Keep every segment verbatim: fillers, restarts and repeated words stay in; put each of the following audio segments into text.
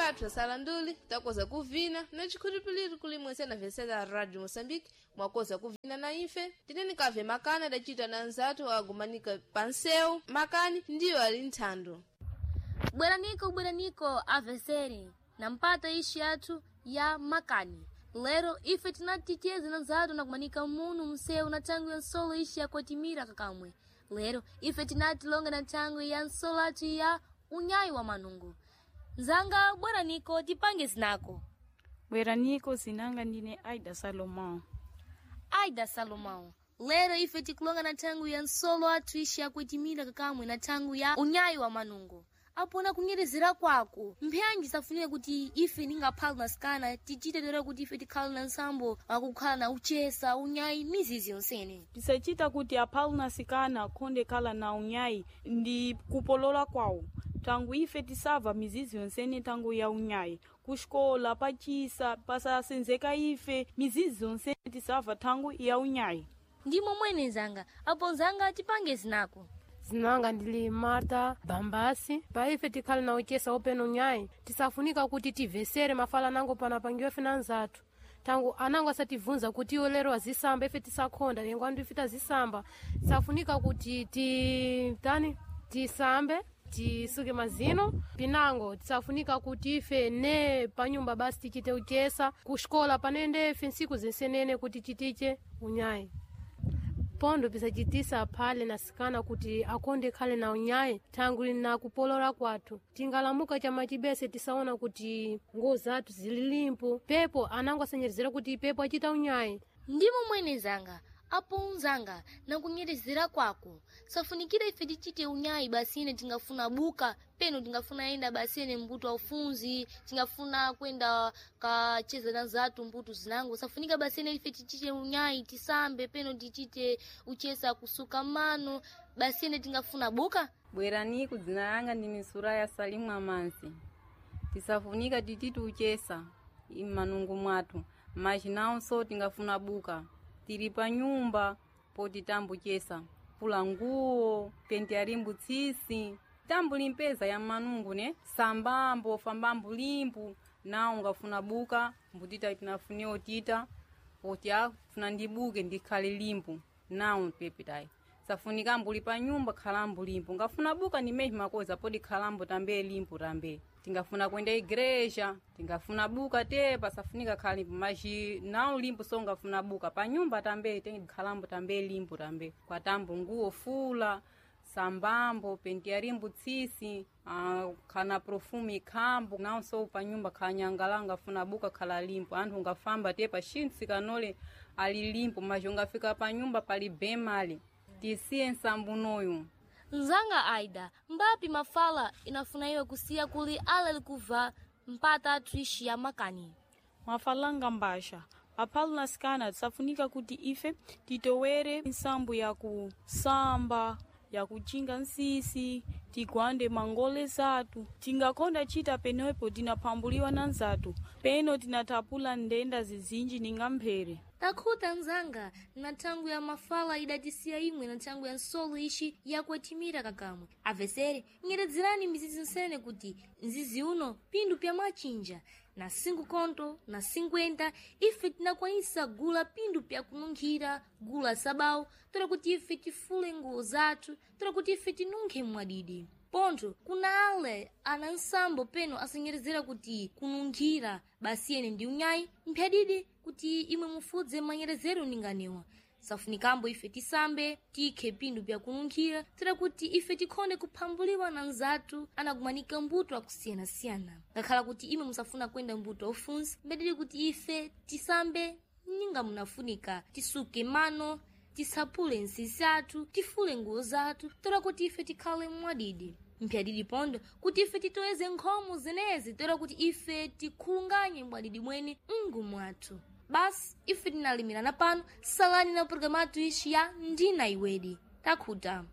Bathu asala nduli takoza kuvina na chikhulupiliro kuli mwese na vesela Radio Moçambique mwakoza kuvina na ife tineni kave makani adacita na nzathu agumanika panseu makani ndiyo ali nthando. Bweraniko bweraniko aveseri na mpata ishi yathu ya makani. Lero ife tinaticheza na nzathu na kumanika munu msewu na thangu ya nsolo ishi yakwatimira kakamwe. Lero ife tinati longa na thangu ya nsolo athu ya unyayi wa manungu. Nzanga bweraniko tipange zinako. Bweraniko zinanga ndine Aida Salomão. Aida Salomão. Lero ife tikulonga na thangu ya nsolo athu ishi yakuitimira kakamwe na thangu ya unyayi wa manungo. Apona kunyerezera kwako mphanji safunire kuti ife ningaphala na sikana tichite lero kuti ife tikhale na nsambo wakukhala na uchesa unyayi mizizi yonsene. Tisachita kuti aphalu na sikana akhonde khala na unyayi ndi kupolola kwawo. Tangu ife tisava mizizi yonsene tangu ya unyayi. Kuxikola, pachisa, pasasenzeka ife, mizizi yonsene tisava thangu ya unyayi. Ndimo mwene nzanga apo nzanga tipange zinako. Zinanga ndili Marta Bambasi. Paife tikhale na uchesa opena unyayi tisafunika kuti tivesere mafala anango panapangiwa ife na anzathu. Tangu anango asativunza kuti iwo lero azisamba ife tisakhonda yengo andu ife tazisamba. Tisafunika kuti ti tani tisambe tisuke mazino pinango tisafunika kuti ife ne panyumba basi tichite uchesa kuxikola panende ife nsiku zinsenene kuti chitiche unyayi. Pondo pisachitisa phale na sikana kuti akonde khale na unyayi thangu na kupolola kwathu. Tingalamuka chamachibese tisaona kuti nguwo zathu zili limpo pepo anango asanyerezera kuti pepo achita unyayi. Ndimo mwene nzanga apo unzanga nakunyerezera kwako safunikira ife tichite unyayi basine tingafuna buka peno tingafuna enda basine mbuto aufunzi tingafuna kwenda kacheza na zatu mbuto zinango safunika basine ife tichite unyayi tisambe peno tichite uchesa kusuka mano basine tingafuna buka. Bweraniku dzina langa ndi misura ya Salimu Amansi. Tisafunika tititi uchesa immanungu mwathu machinawonso tingafuna buka tili pa nyumba poti tambuchesa pula nguwo penti alimbu tsisi tambu limpeza ya manungu ne sambambo fambambu limpu nawo ngafuna buka mbutita tinafuniwa tita poti afuna ndibuke ndikhale limpu nawo pepitayi safunika mbuli pa nyumba khalambu limpu ngafuna buka ndi makoza podi khalambu tambe limpu tambe tingafuna kwenda igreja tingafuna buka te pasafunika khala limpu maji nawo limpu so ngafuna buka pa nyumba tambe te khalambu tambe limpu tambe kwa tambu nguwo fula sambambo penti alimbu tsisi uh, khana profume ikhambo nawonso pa nyumba khanyangala ngafuna buka khala limpu anthu ngafamba te pachintsi kanole ali limpu maji ungafika pa nyumba pali bemali tisiye nsambunoyu. Nzanga Aida mbapi mafala inafuna iwe kusiya kuli ala likuva mpata athu ishi ya makani. Mafalanga mbasha aphalu na sikana tisafunika kuti ife titowere nsambu ya kusamba ya kuchinga nsisi tigwande mangole zathu tingakonda chita penepo tinaphambuliwa na nzathu peno tinatapula ndenda zizinji ninga mphere. Takhuta nzanga na thangu ya mafala idatisiya imwe na thangu ya nsolo ishi yakwetimira kakamwe. Avesere nyeredzerani mizizi nsene kuti mzizi uno pindu pya machinja na cinco conto na cinquenta ife tinakwanisa gula pindu pya kununkhira gula sabau tola kuti ife tifule nguwo zathu tola kuti ife tinunkhe mwadidi. Pontho kuna ale ana nsambo peno asanyerezera kuti kununkhira basiyene ndi unyayi mphyadidi kuti imwe mufudze manyerezero ninganiwa. Safunikambo ife tisambe tikhe pindu pya kununkhira tera kuti ife tikhonde kuphambuliwa na nzathu anakumanika mbuto akusiyana-siyana. Ngakhala kuti imwe musafuna kwenda mbuto aufunsi mbedili kuti ife tisambe ninga munafunika tisuke mano tisaphule nsisi athu tifule nguwo zathu tola kuti ife tikhale mwadidi. Mphyadidi pondo kuti ife titoeze nkhomo zenezi tola kuti ife tikhulunganye mwadidi mwene mngu mwathu. Basi ife tinalimirana pano salani na programu athu ishi ya ndina iwedi takhuta.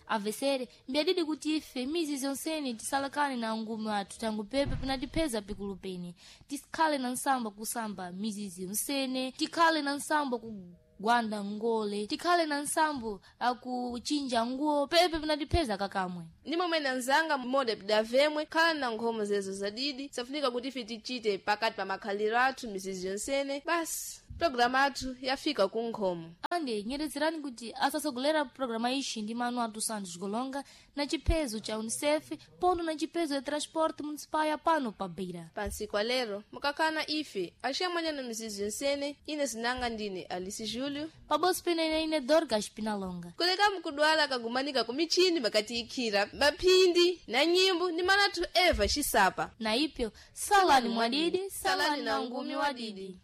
Avesere mbyadidi kuti ife mizi zonsene tisalakane na ngumi athu tangu pepe pinatipeza pikulu pene tikhale na nsamba kusamba mizizi yonsene tikhale na nsamba ku kugwanda ngole, tikhale na nsambo akuchinja nguo pepe pinatipeza kakamwe. Ndi momwe nanzanga mmoda pidavemwe khala na nkhomo zezo zadidi safunika kuti ife tichite pakati pa makhaliro athu mizizi yonsene. Basi programu athu yafika ku nkhomo. Ande nyerezerani kuti asasogolera programa ixi ndi manu atu Santos Golonga na chiphezo cha UNICEF pondo na chiphezo ya transporte municipal ya pano pa Beira. Pansi kwa lero mukakhala ife axiyamwanyana mizizi yonsene. Ine zinanga ndine Alice Júlio Paboso pena ine ine Dorcas Pinalonga. Kuleka mukudwala kagumanika ku michini makatiikhira maphindi na nyimbo ndi manathu Eva Xisapa. Na ipyo salani mwadidi, salani na ngumi wadidi.